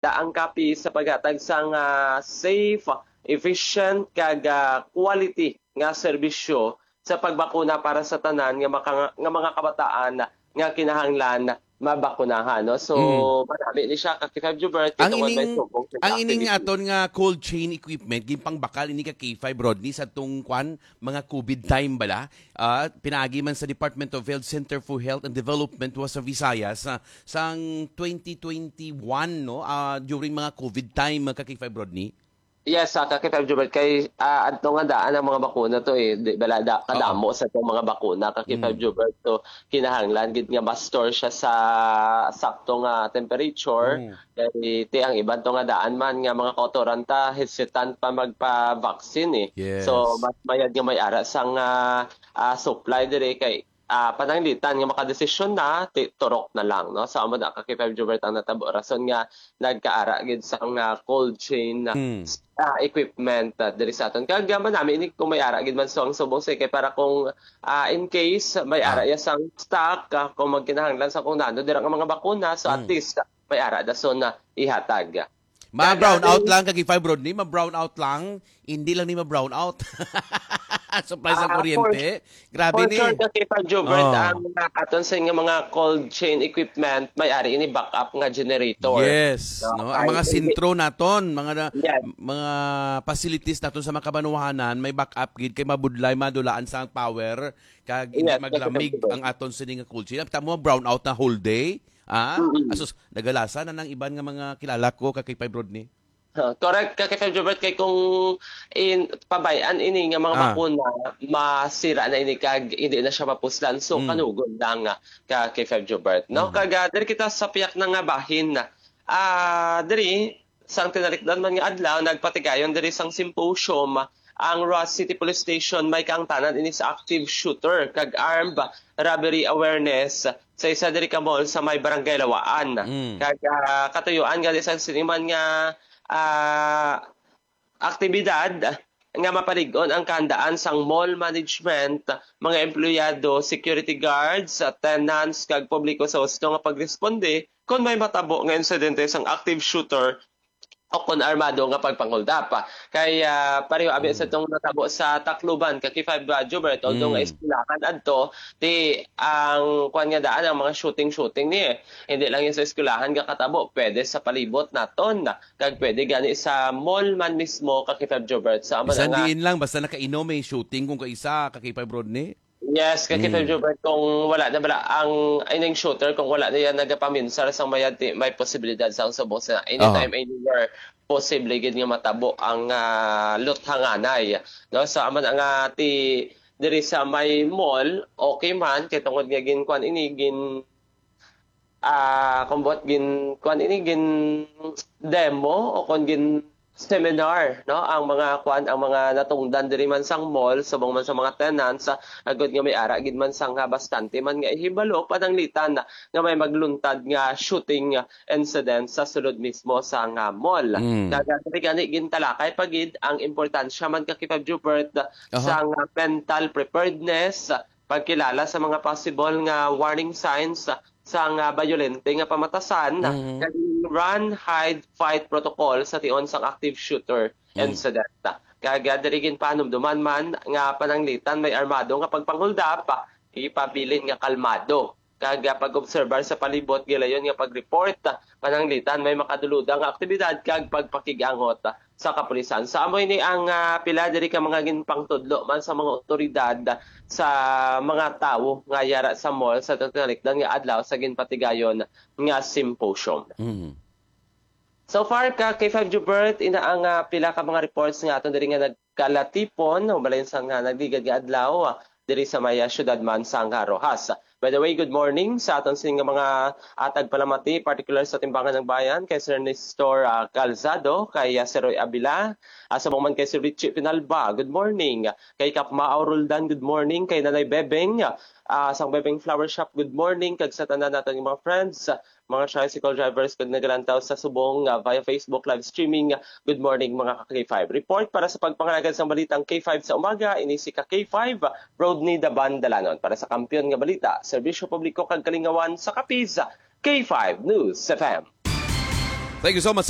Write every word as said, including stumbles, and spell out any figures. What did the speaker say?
da ang Capiz sa paghatag sang safe, efficient, kag, ah, quality nga serbisyo sa pagbakuna para sa tanan nga maka-, nga mga kabataan nga kinahanglan mabakunahan, no? So, Mm. marami ni siya, ka K five Jubert, Ang kay tungod may ining, subong sa ang ining activity. aton nga cold chain equipment, ginpangbakal ini ka K five, Rodney, sa tong kwan, mga covid time bala. Ah, pinaagi man sa Department of Health Center for Health and Development was sa Visayas, ah, sang twenty twenty-one, no? Ah, during mga covid time, ka K five, Rodney. Yes, sa ka K five Jubert, kay, ah, adto nga daan ang mga bakuna to, eh. Di bala da-, Oo. kadamo sa itong mga bakuna, ka K five Mm. Jubert. So, kinahanglan gid nga ma-store siya sa sakto nga temperature. Mm. Kay ti ang iban to nga daan man nga mga kautoran ta, hesitant pa magpa-vaccine, eh. Yes. So, mas mayad nga may ara sang, ah, ah, supply diri kay, ah, pananglitan nga makadesisyon na, ti-, turok na lang, no? So, amo na, ka K five Jubert, ang natabo. Rason nga nagkaara gid sang, ah, cold chain, Mm. ah, equipment, ah, diri sa aton. Kag, ah, manami ini kung may ara gid man sang subong sa kay para kung, ah, in case may Ah. ara ya sang stock, ah, kung magkinahanglan sa kung nano dira nga mga bakuna, so at Mm. least, ah, may ara dason na ihatag. Ma-brown out lang, ka K five, Rodney, ma-brown out lang. Hindi lang ni ma-brown out. Supply sa Ah, kuryente. for, Grabe for ni. sure, ka K five Jubert, Oh. ang, ah, aton sa nga mga cold chain equipment, may ari ini backup nga generator. Yes, No, no? Ang ay, mga hindi. sentro naton, mga na-, Yes. mga facilities naton sa mga kabanwahanan, may backup gid kay mabudlay, madulaan sa power, kag hindi Yes, ka K five maglamig Jubert. ang aton sini nga cold chain. Tamo, brown out na whole day. Ah, Mm-mm. asus, nagalasa na ng iban nga mga kilala ko, ka K five, Rodney. Ah, correct, ka K five Jubert, kay kung in, pabay-an ini nga mga Ah. bakuna, masira na ini kag hindi na siya mapuslan. So, Mm. kanugon lang, ah, ka K five Jubert, no? Mm. Kag, ah, diri kita sa piyak na nga bahin. Ah, diri, sang tinalikdan man nga adlaw, nagpatigayon diri sang symposium ang Roxas City Police Station, may kaangtanan ini sa active shooter kag armed robbery awareness sa isa diri ka mall sa may Barangay Lawaan. Mm. Kag, ah, katuyuan gani sang sini man nga, ah, aktibidad nga mapalig-on ang kahandaan sang mall management, mga empleyado, security guards, tenants, kag publiko sa husto nga pagresponde kon may matabo nga insidente sang active shooter o kon armado nga pagpanghuldap. Kay, ah, pareho abi sa Mm. tong natabo sa Tacloban, ka K five, ah, Jubert, although nga Mm. eskwelahan adto, ti ang kuwan nga daan, ang mga shooting-shooting ni, eh. Hindi lang yun sa eskwelahan nga katabo, pwede sa palibot naton, kag pwede gani sa mall man mismo, ka K five Jubert. Sa Bisan mga diin lang, basta nakainom, may shooting kung kaisa, ka K five, Rodney. Yes, ka K five Mm. Jubert, kung wala na bala ang, ay, ning shooter, kung wala na yan nagapaminsar sa mayad, ti-, may posibilidad sa ang subong sa Oh. anytime, anywhere, posible gid nga matabo ang, ah, luthanganay, no? So, amo na nga ti-, diri sa may mall, okay man, kay tungod nga gin-, kuwan ini, gin-, ah, kung buot gin-, kuwan ini, gin-demo o kung gin-seminar, no? Ang mga, kuwan, ang mga natungdan diri man sang mall, subong man sa mga tenants, ah, agod nga may ara gid man sang, ah, bastante man nga ihibalo, pananglitan nga may magluntad nga shooting incident sa sulod mismo sang, ah, mall. Mm. Kag diri gani gintalakay pa gid ang importansya man, ka K five Jubert, Aha. sang, ah, mental preparedness, pagkilala sa mga possible nga warning signs sang, ah, bayolente nga pamatasan, Mhm. kag run, hide, fight protocol sa tion sang active shooter Mm. incident. Kag, ah, diri ginpanumduman man nga pananglitan may armado nga pagpanghuldap, ipabilin nga kalmado. Kag, ah, pag-obserbar sa palibot, gilayon nga pag-report, pananglitan may makaduludang nga aktibidad kag pagpakig-angot sa kapulisan. Sa amo ini ang, ah, pila diri ka mga ginpangtudlo man sa mga otoridad sa mga tawo nga yara sa mall sa tinalikdan nga adlaw sa ginpatigayon nga symposium. Mhm. So far, ka K five Jubert, ina ang, ah, pila ka mga reports nga aton diri nga nagkalatipon, hubalin sa nga nagligad nga adlaw, ah, diri sa may, ah, syudad man sang, ah, Roxas. By the way, good morning sa aton sini nga mga, ah, tagpalamati, particular sa Timbangan ng Bayan, kay Sir Nestor, ah, Calzado, kay, ah, Sir Roy Abila, ah, subong man kay Sir Richie Pinalba, good morning. Kay Kap Mao Roldan, good morning. Kay Nanay Bebeng, ah, sang Bebeng Flower Shop, good morning. Kag sa tanan naton nga mga friends, mga tricycle drivers kag nagalantaw sa subong, ah, via Facebook live streaming. Good morning, mga ka K five. Report para sa pagpangalagad sang balitang K five sa umaga, ini si ka K five, Rodney Daban Dalanon. Para sa Kampiyon nga Balita, Serbisyo Publiko kag Kalingawan sa Capiz, K five News F M. Thank you so much sa